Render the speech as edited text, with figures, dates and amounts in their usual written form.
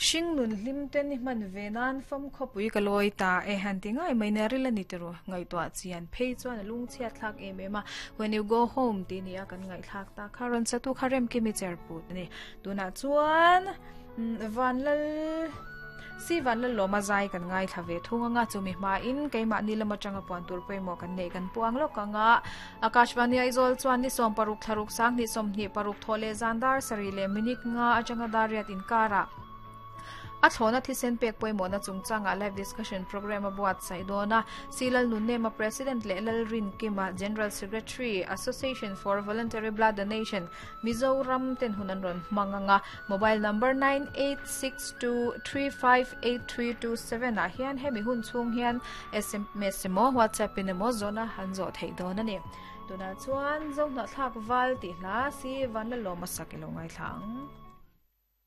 Hring nun hlim te ni hman ve nan fam khawpui ka lawi ta e han ti ngai mai nia ril a ni tiraw ngaihtuah chian phei chuan a lungchhiat thlak em em a when you go home tih nia kan ngaihthlak ta kha rawn satu kha Remkimi Cherput a ni tunah chuan Vanlal Si Vanlal lawma zai kan ngaithla ve thung anga chumi hmain keimahni lam atanga puan tur pawimawh kan neih kan puang lawk anga Akashvani Aizawl chuan ni 16 thlaruk sanghnih 26 thawh leh zan dar sarih leh minute nga atanga dar riat inkarah a thlawhna thisen pek pawimawhna chungchangah live discussion program a buatsaih dawn a. Si Lalnunnema President leh Lalrinkima General Secretary, Association for Voluntary Blood Donation, Mizoram ten hun an rawn hmang ang a. Mobile number 9862358327 ah hian hemi hun chhung hian sms emaw WhatsApp in emaw zawhna an zawh theih dawn a ni. Tunah chuan Zohnahthlak Val tih hla si Vanlalawma sak i lo ngaithla ang.